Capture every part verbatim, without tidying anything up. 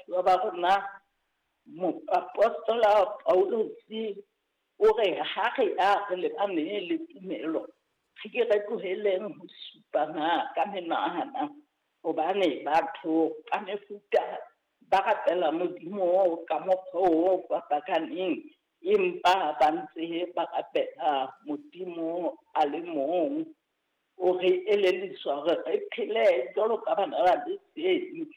Baratuwa ba rona, moapostola Paulus o re ha re a re lebane le tumelo, re ke re tloheleng ho supana ka menwana, hobane batho ka mefuta ba rapela Modimo ka mokgwa o fapakaneng, empa ba ntse ba rapela Modimo a le mong. O re elelliswa hore re phele jwalo ka bana ba lesedi,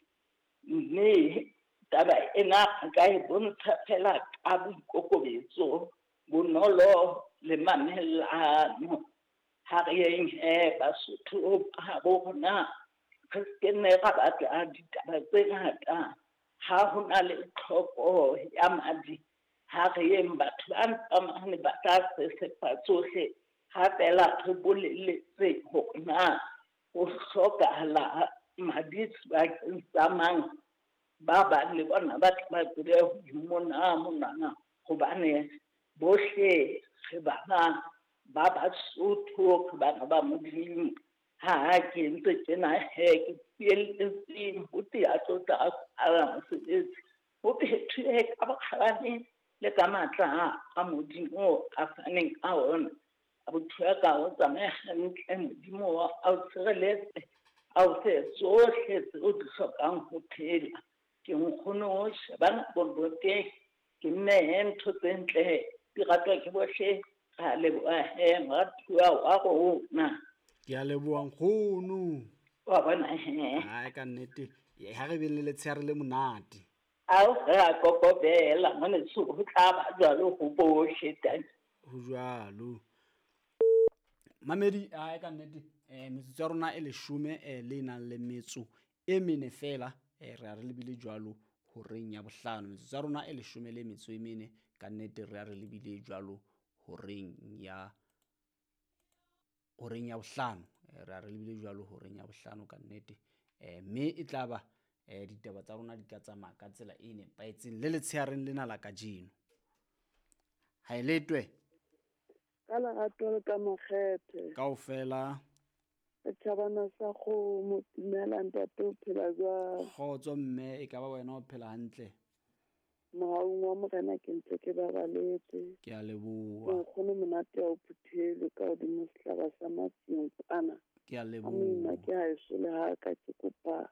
mme taba ena re ka e bontsha fela ka boikokobetso, bonolo le mamellano. Ha re yeng he Basotho ba habo rona, re se nne ra batla ditaba tse ngata. Ha ho na le tlhoko ya madi, ha re yeng batho ba ntsamane ba tla sesefa tsohle. Ha fela re boleletse hore na ho hlokahala madi sebakeng sa mang, ba bang le bona ba tla ba tsebe ho imona monwana, hobane bohle re bana ba Basotho, re bana ba Modimo. Ha ke ntse tjena he, ke tsieletseng ho tea tlotla a mosebetsi, ho phethwe ka bokgabane le ka matla a Modimo a faneng ka ona. Abuti wa ka o tsamaye hantle, Modimo a o tshireletse, a o fe tsohle tseo di hlokang ho phela. Ke nkgono shebana boloteng, ke mme ntho tse ntle di ratwa ke bohle. Re a leboha he moratuwa wa rona. Ke a leboha nkgono. Wa bona he. Hai ka nnete, ha re beng le letshehare le monate. Ao re a kokobela ngwaneso, ho tla ba jwalo ho bohle teng. Ho jwalo. Mamedi, hai ka nnete, eh metsotso ya rona e leshome eh le nang le metso e mene fela, eh re a re lebile jwalo horeng ya bohlano. Metsotso ya rona e leshome le metso e mene, ka nnete re a re lebile jwalo horeng ya horeng ya bohlano. Re a re lebile jwalo horeng ya bohlano ka nnete. Eh mme e tla ba eh ditaba tsa rona di ka tsamaya ka tsela e nepahetseng le letshehareng lena la kajeno. Ha e letwe. Ka lerato le ka makgethe. Kaofela. Setjhabana sa kgomo, dumela ntate, o phela jwang? Kgotso mme, e ka ba wena o phela hantle? Mohaung wa Morena ke ntse ke babaletse. Ke a leboha. Nkgono monate ya o phuthele ka hodimo sehlaba sa matsieng kwana. Ke a leboha. Monna ke haeso le ha ka ke kopa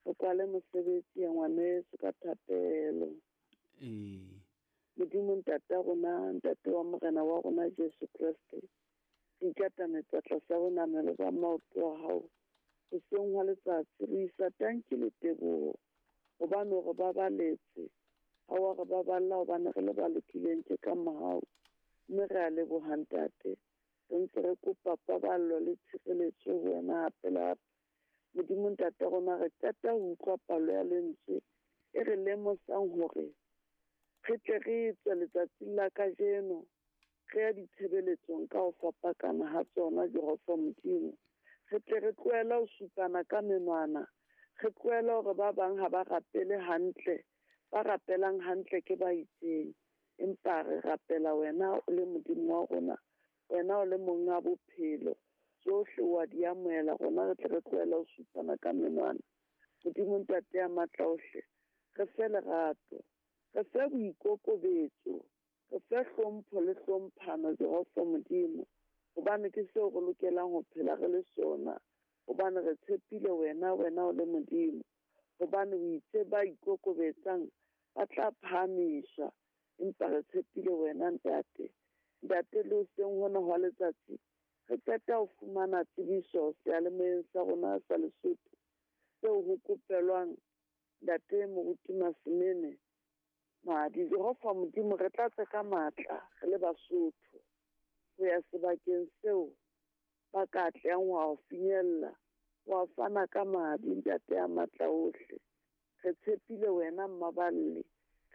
re kwale mosebetsi ya ngwaneso ka thapelo. Ee. Modimo ntate wa rona, ntate wa Morena wa rona Jesu Kreste, re ikatametse tlasa bonamelo ba maoto a hao. Hoseng hwa letsatsi re isa tanki le teboho, hobane o re babaletse. Ha wa re baballa hobane re le ba lokileng tje ka mohau. Mme re a leboha ntate. Re ntse re kopa paballo le tshireletso ho wena hape le hape. Modimo ntate wa rona, re qeta ho utlwa palo ya lentswe e re lemosang hore re tle re tswe letsatsing la kajeno re ya ditshebeletsong ka ho fapakana ha tsona, Jehova Modimo. Re tle re tlohele ho supana ka menwana, re tlohele hore ba bang ha ba rapele hantle, ba rapelang hantle ke ba itseng, empa re rapela wena o le Modimo wa rona, wena o le monga bophelo. Tsohle wa di amohela, rona re tle re tlohele ho supana ka menwana. Modimo ntate ya matla ohle, re fe lerato, re fe boikokobetso, re fe hlompho le hlomphano, Jehova Modimo, hobane ke seo re lokelang ho phela re le sona, hobane re tshepile wena, wena o le Modimo, hobane o itse ba ikokobetsang ba tla phahamiswa, empa re tshepile wena ntate. Ntate, le hoseng hona hwa letsatsi re qeta ho fumana tsebiso seyalemoyeng sa rona sa Lesotho seo ho kopelwang ntate Moruti Masemene madi. Jehova Modimo, re tlatse ka matla re le Basotho ho ya sebakeng seo ba ka tlang ho a finyella, wa fana ka madi ntate ya matla ohle. Re tshepile wena mmaballe,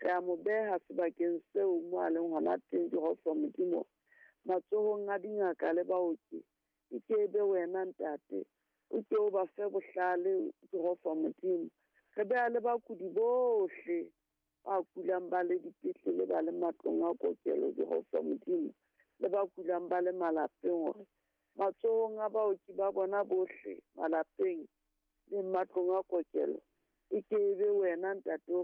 re a mo beha sebakeng seo mo a leng hona teng, Jehova Modimo, matsohong a dingaka le baoki. E ke be wena ntate, o ke o ba fe bohlale, Jehova Modimo. Re beha le bakudi bohle ba kulang ba le dipetlele, ba le matlong a kokelo, Jehova Modimo, le ba kulang ba le malapeng, hore matsohong a baoki ba bona bohle malapeng le matlong a kokelo, e ke be wena ntate o